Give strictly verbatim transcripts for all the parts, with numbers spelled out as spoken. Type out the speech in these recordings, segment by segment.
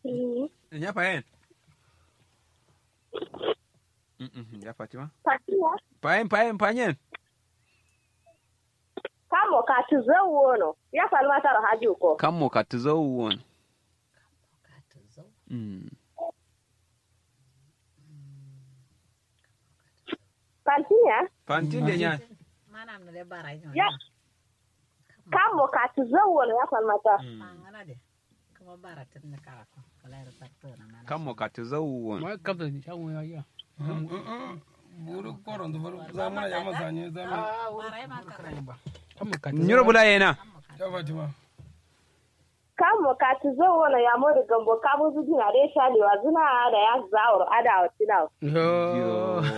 Nya fayen. Ya fatima. Fayen fayen fayen. Kammo katǝ zau wono ya falma taro haji ko. Kammo katǝ zau wono. Fantin ya. Fantin de nya. Kammo katǝ zau wono ya falma taro. Kammo katǝ zau wono. Buru korondu buru zamuna yama sanye zamuna. Nyiro bula yena. Ya fatima. Kammo katǝ zau wono ya modu gambo kabuzu dina de shalewa zuna. Ada ya zauro ada wa tinawo.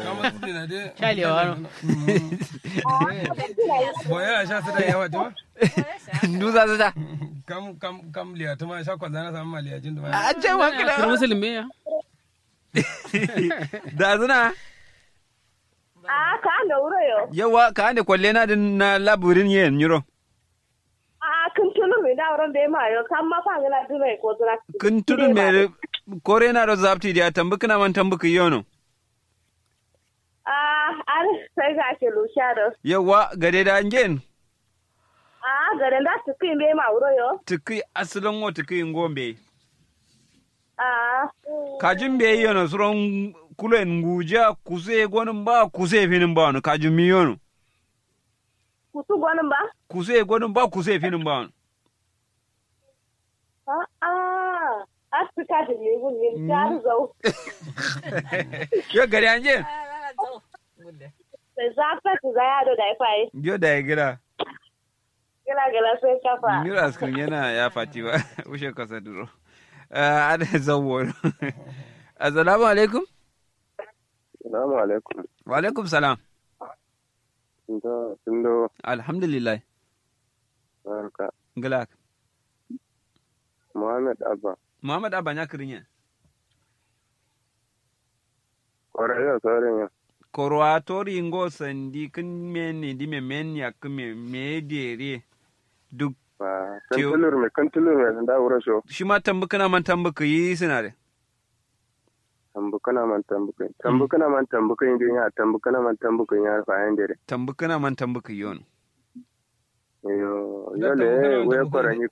Kabuzu dina de shalewa no. Boyera sha sida ya fatima. Nduza sida. Kam kam kam liya tuma sha kwalzana sama liya jin duma. A ce ma kila musulmi ya. Da zuna. A ka ande wuro yo. Yawa ka ande kwalle na din na laburin yen nyiro. A kin tulun mi da wurin be ma yo kam ma fa ngila duna ko zuna. Kin tulun me kore na do zapti dia tambu kina man tambu ki yono. A ar sai ga ke lusha do. Yawa gade da ngen. A gade da tuki be ma wuro yo. Tuki asalin wo tuki ngo be. A kajin be yono suron kulen nguja kuse gonin ba kuse finin ba wani kajin mi yono. Kusu gonin ba. Kuse gonin ba kuse finin ba wani. A'a. Asu kajin mi gun min jaru zau. Yo gari anje. Sai za ka ci za ya do da ya faye. Yo da ya gira. Gila gila sai kafa. Nyura askun yana ya fatima. Ushe kasa duro. Ada zawon. Assalamu alaikum. Salamu alaikum. Wa alaikum salam. Nda tundo. Alhamdulillah. Barka. Glak. Muhammad abba. Muhammad abba nya kirinye. Koro yo sorin yo. Koro a tori ngo sandi kin men ni di me men ya kin me me dere. Duk. Kan tulur me kan tulur me da wuro sho. Shima tambu kana man tambu kayi sinare. Tambu kana man tambu kayi tambu kana man tambu kayi din ya tambu kana man tambu kayi ya fa yan dere. Tambu kana man tambu kayi yono. Yo yo le we koro ni.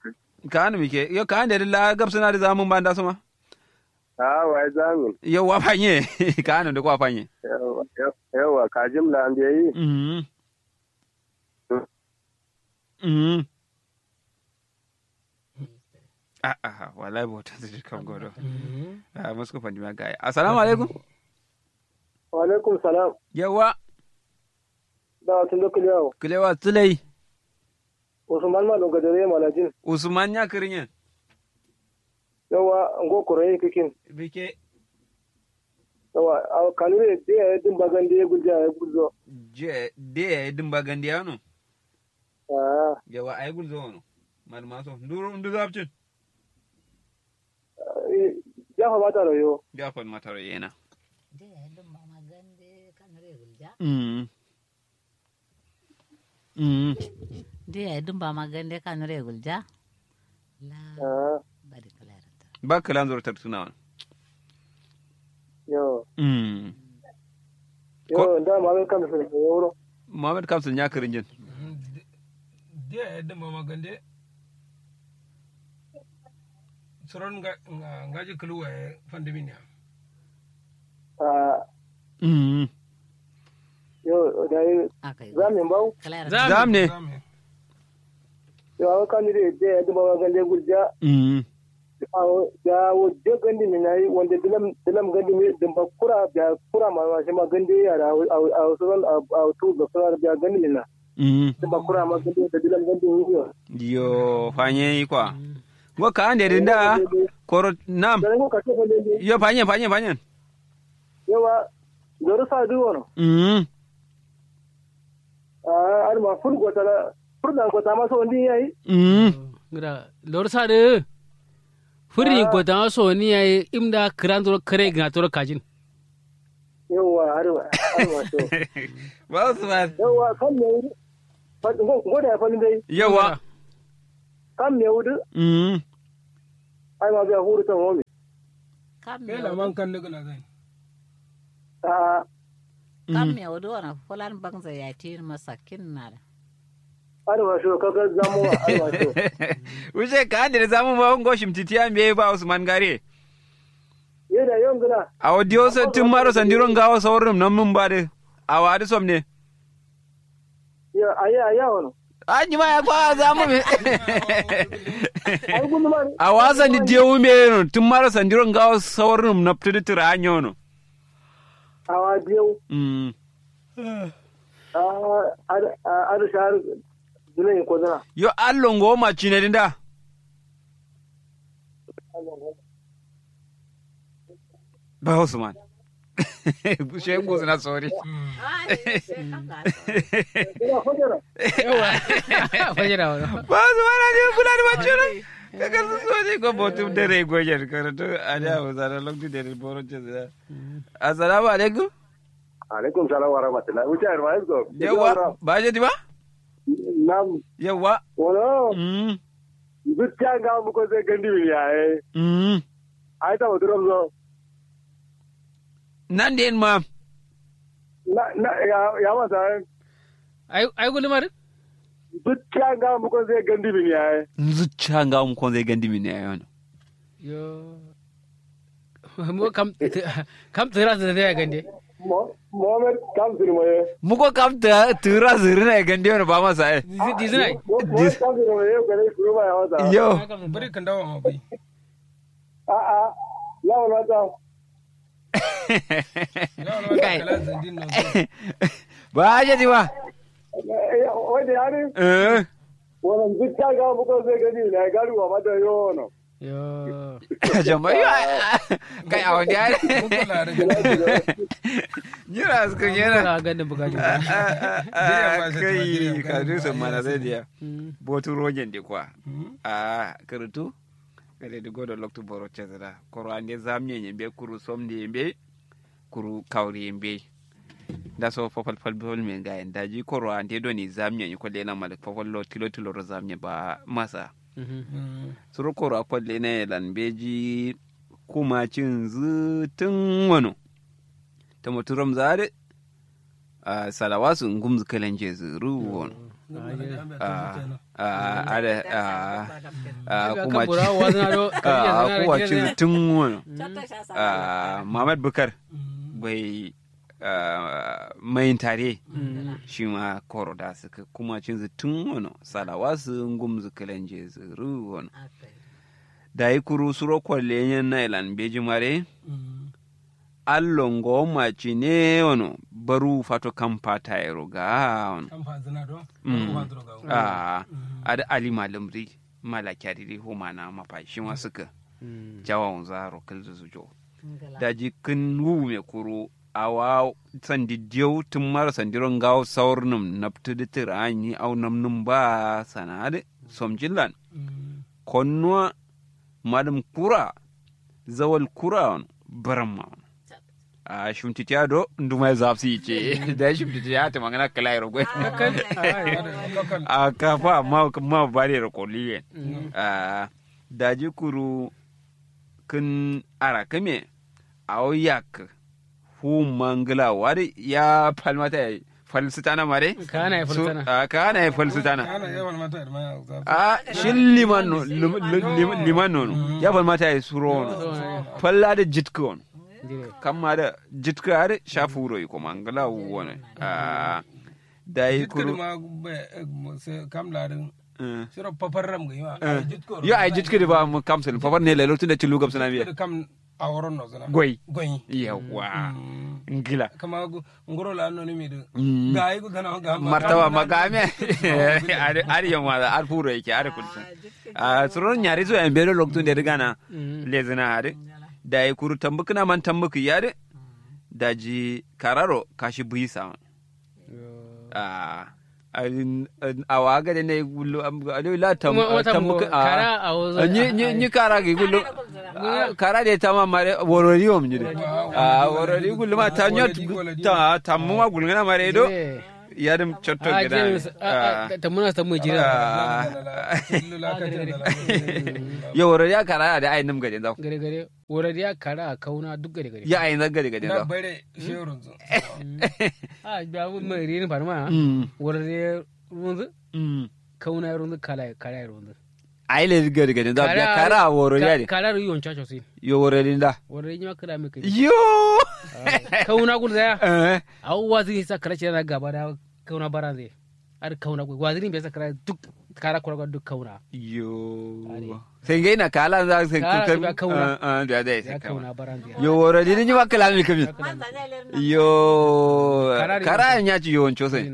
Ka anu mike yo ka ande la gabsuna da zamun banda suma. A wai zamin. Yauwa fanye. Ka anu da kwa fanye. Yauwa kajim la an biyayi. Mhm. Mhm. A'a wallahi botan su kam godo. A musko fandi ma gaye assalamu alaikum. Wa alaikum salam. Yauwa. Da tun da kulewa. Kulewa tulai. Usman ma lunga dare malajin. Usman nya kirinyen. Yawa ngo koroye kikin. Bike. Yawa awo kanure de ya din bagande gulja ya gulzo. Je de ya din bagande ano. Ah. Yawa ai gulzo no. Malmaso nduru ndu zapcin. Jafa mataro yo. Jafa mataro yena. De ya din bagande kanure gulja. Mm. Mm. De ya dǝmba ma gande kanure gulja. La. Ba kǝla nzoro tartǝna wano. Yo. Mm. Yo nda muhammad kamsul wuro. Muhammad kamsul nya kǝrinjin. De ya dǝmba ma gande. Suron ngaji kǝlu waye fandǝmin ya. Yo dai. Zam ne mbawu. Zam ne. Yo awo kani de de ya dǝmba ma gande gulja. Awo ya wo de gandi mi nayi wande dǝlam dǝlam gandi mi dǝmba kura biya kura ma ma shima gande ya da awo suron awo tu ga suron biya gandi mi na. Dǝmba kura ma gande da dǝlam gandi mi yo. Yo fanye yi kwa. Ngo ka ande dǝ nda. Koro nam. Yo fanye fanye fanye. Yawa. Loru sa dǝ wono. Mm. Adǝ ma fur gota la fur dan gota ma so ndi yayi. Mm. Gida loru sa dǝ fur ni gota ma so ndi yayi. Im da kǝran toro kare gina toro kajin. Yawa adǝ ma adǝ ma so. Ba usman. Yawa kam me wudu. Ngo da ya falin dai. Yawa. Kam me wudu. Mm. Ai ma biya furu tan womi. Kam me wodo. A'a. Kam me wodo wana fulan bangza ya ti masakkin na da. Alwasho kaga zamu alwasho. Wuce ka ande zamu ba ngo shimtitiya mbe ba usman gare. Ye da yon gina. Awo diyo so tun maro sandiro ngawo saurrum nan mun ba de. Awa de som ne. Yo aya aya wono. A nyima ya kwa zamu me. Awa sandi diyo me no tun maro sandiro ngawo saurrum na ptidi tira anyo no. Awa diyo. Mm. Ada shahar. Zunai ko zuna. Yo allo ngo ma cine dinda. Ba usman. Bushe ngo zuna sori. Ba usman a jin kula da maciro. Kakar su sori ko botum dare gojen karatu a da hausa na lokacin da ya boro ce zuna. Assalamu alaikum. Alaikum salam wa rahmatullah wuce a ruwa yanzu. Yawa ba je di ba. Nam. Yawa. Wala. Mm. Zuciya ga mu ko sai gandi min yaye. Mm. Ai ta mutum zo. Nan da yin ma. Na na ya ya masa. Ai ai gulmar. Zuciya ga mu ko sai gandi min yaye. Zuciya ga mu ko sai gandi min yaye wani. Yo. Mo kam kam tira zirina ya gande. Mohammed kam zirina ye. Muko kam tira zirina ya gande wani ba masa ye. Dizina ye. Mohammed kam zirina ye gane kuma ya wasa. Yo. Bari kan dawo ma bai. A'a. Lawan wasa. Kai. Ba aje di ba. Wani yare. Eh. Wannan duk ta ga muka zai gani na gari wa mata yono. Yo. Jama yo. Kai a wani yare. Nyira su kun yana. Ga da buga. Kai ka du sun mana zai diya. Botu rogen de kwa. A karatu. Gade du godo loktu boro cezira koro ande zamnye nyembe kuru somdi yembe. Kuru kawri yembe. Nda so fafal fal fal me ngaye ndaji koro ande doni zamnye ni kolle na malik fafal lo tilo tilo ro zamnye ba masa. Suro koro a kolle na yelan beji. Kuma cinzu tun wano. Tamo turam zare. Salawasu ngumzu kalanje zu ruwon. Ada kuma cizi tun wano. Muhammad bukar bai maintare. Shima koro da suka kuma cinzi tun wano salawasu ngumzu kalanje zu ruwon. Dayi kuru suro kolle nyen na ilan beji mare. Allo ngo macine wono baru fato kampa tayero ga wono. Kampa zina do. Baru fato ga wono. Aa. Ada ali malumri. Mala kyariri humana mafa shima suka. Jawa unza ro kalzu zujo. Daji kin wume kuru awa sandi diyau tun mara sandiro ngawo saur num naptu ditir anyi au nam num ba sanade. Somjillan. Konnuwa. Malum kura. Zawal kura wano. Baram ma wano. Ahh shimtitiya do nduma ye zafsi yice. Dayi shimtitiya tǝmangǝna kǝlayiro goi. Ahh kafa ma bariyero kolliyen. Ahh daji kuru kǝn arakǝme. Awo yakkǝ. Fuwumma ngǝlawo adǝ ya falmata yayi. Falsǝtana mare. Kaana ye falsǝtana. Ahh kaana ye falsǝtana. Ahh shil liman no. Liman nono ya falmata yayi surowono. Fal adǝ jitkǝ wono. Kamma adǝ jitkǝ adǝ sha fuwuro yikoma ngǝlawo wono. Ahh dayi kuru. Kam ladǝ. Shiro fafarram gǝ yima. Yo ayi jitkǝ dǝ ba kam sǝlǝm fafar ne lalo tunda cillu gabsǝna biya. Kam aworon nozǝna goi. Goi. Yawwa. Ngǝla kama nguro la noni mi dǝ. Gayi gudana ma gama martaba ma gamiya. Adǝ yamma adǝ furo yake adǝ kulsǝn. Ahh suron nyari so yambe do loktu nde dǝ gana. Lezǝna adǝ. Dayi kuru tambukǝna man tambukǝ yadǝ. Daji kararo kashi buyi saman. Ahh. Awa gade ne gullu am gade la tam tam. Nyi nyi kara gi gullu. Kara de tama mare worori wom nyi de. Ahh worori gullu ma ta nyot. Tammu ma gullu ngana mare do. Yadǝm cotto gǝda ne. Tamuna tamuna jira. Yo woro diya kara da ai nǝm gade nzau. Gade gade woro diya kara kauna duk gade gade. Ya ai nzau gade gade nzau. Bare shehu runzu. A biya mai rini farma. Woro diya runzu. Kauna runzu kala kara runzu. Ai le gari gari da biya kara woro ya de. Kara ru yon chacho sin. Yo woro din da. Woro din ma kala me kai. Yo. Kauna gul da ya. Awu wazi sa kala chira gaba da kauna baranze. Ar kauna gul wazi din be sa kala duk kara kura duk kauna. Yo. Sai ngai na kala za sai kauna. Da da sai kauna baranze. Yo woro din ma kala me kai. Yo. Kara nya ci yo oncho sai.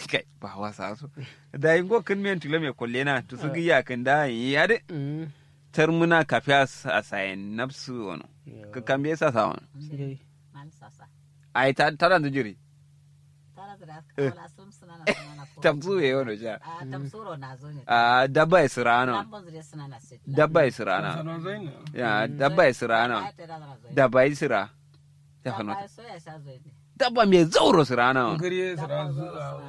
Kai ba wasa so. Dayi ngo kǝn men tǝlo me kollena tusǝgǝ yakkǝn da yi adǝ. Tarmǝna kafiya sasayen nabsǝ wono. Kǝkkambe sasa wono. Ai taranzǝ jiri. Tamsu ye wono sha. A dabba ye sǝrano. Dabba ye sǝrano. Dabba ye sǝrano. Dabba ye sǝra. Dabba mbe zauro sǝrana.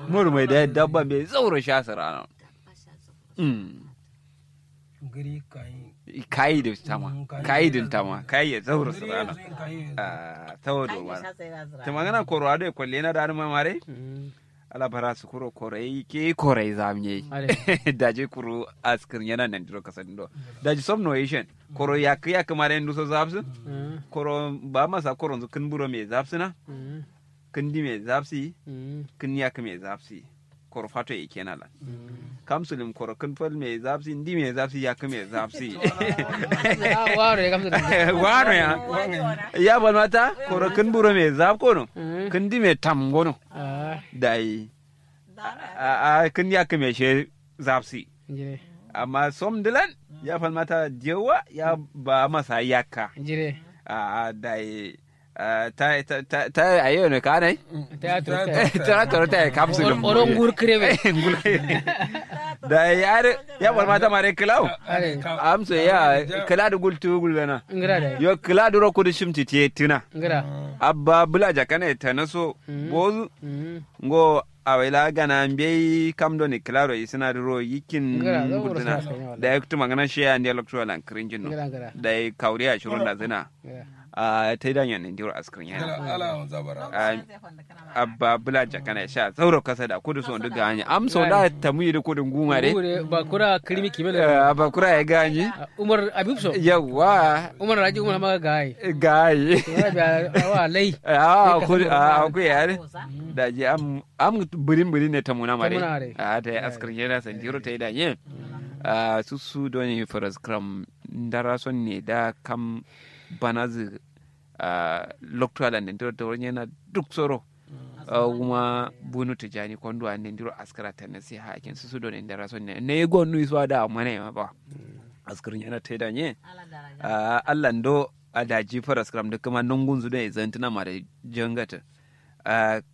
Mur mai da dabba mbe zauro sha sǝrana. Kayi da tama kayi din tama kayi ya zauro sǝrana. Tawo do mara tama gana koro ado ya kwalle na da ma mare. Ala bara sukuro korai ke korai zamye. Daji kuru askir yana nan diro kasadindo. Daji som no ishen. Koro yakkǝ yakkǝ mare nduso zafsǝ. Koro ba masa koro nzu kǝn buro me zafsǝ na. Kǝn di me zafsǝ. Kǝn yakkǝ me zafsǝ. Koro fato ye kena lan. Kam sulim koro kǝn fal me zafsǝ ndi me zafsǝ yakkǝ me zafsǝ. Wano ya. Ya balmata koro kǝn buro me zaf kono. Kǝn di me tam gono. Dayi. A kǝn yakkǝ me she zafsǝ. Amma som dǝlan ya falmata diyowa ya ba masa yakka. A dayi. Ta ta ta ta ayo ne kanai. Ta toro ta kam su dum oro ngur krebe. Dayi ya ya falmata mare klau. Amso ya kla du gultu gulbena. Yo kla du ro kudu shimti te tina. Abba bula jakana ta naso bozu. Ngo awai la gana mbei kam done klaro isǝna duro yikin gultǝna. Dayi tuma gana shiya nde loktu alan kǝrinjin no. Dayi kawuriya shiro ndazǝna. Taida nyo nandiro askǝrin yana. Abba bula jakana sha zauro kasa da kudu so ndu ganya amso da tamuyi du kudu nguma de. Bakura kǝrimi kime da. Bakura ya ganyi. Umar abib so yawwa. Umar raji umar ma gayi. Gayi. Awa lai. Awa kudu awa kudu yare. Daji am am birin birin ne tamuna mare. A ta yi askar yana sandiro ta yi da yin. Susu doni faras kram ndara son ne da kam banazǝ. Loktu ala nandiro ta wani yana duk soro. Kuma bunu tijani konduwa nandiro askara ta nasi hakin susu doni ndara son ne ne gon nu isuwa da amana ya ma ba. Askar yana ta yi da yin. Allan do a daji faras kram duk kuma nungun zu doni zantuna mare jangata.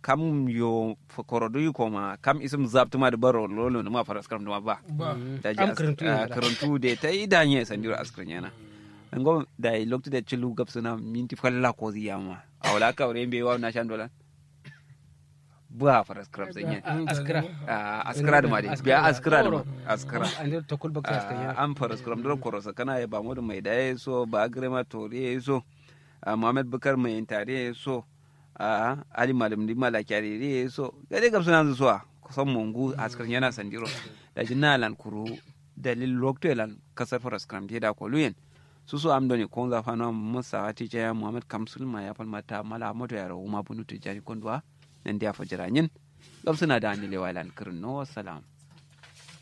Kam yo koro du yiko ma kam isǝm zaptǝ ma dǝ baro lolo nǝma faras kram dǝma ba. Daji kǝrǝntu de ta yi da nye sandiro askǝrin yana. Ngo dayi loktu de cilu gabsǝna minti falla kozi yama awala kawure mbe wa nashan dolan. Bua faras kram sanye. Askǝra. Askǝra dǝma de biya askǝra dǝma. Askǝra. Am faras kram duro koro sakana ye ba modu mai daye so ba agrema toriye so. Muhammad bukar mai intariye so. A'a ali malum di malakiya de de so gade gabsǝna nzǝ so a kusan mongu askǝr nyana sandiro. Daji na lan kuru dalil loktu ye lan kasar faras kram de da kolu yen. Susu am doni konza fano musa ati jaya muhammad kamsul ma ya falmata mala moto yaro wuma bunu tijani konduwa. Nan diya fajira nyin. Gabsǝna da ni lewa lan kǝrin no wassalam.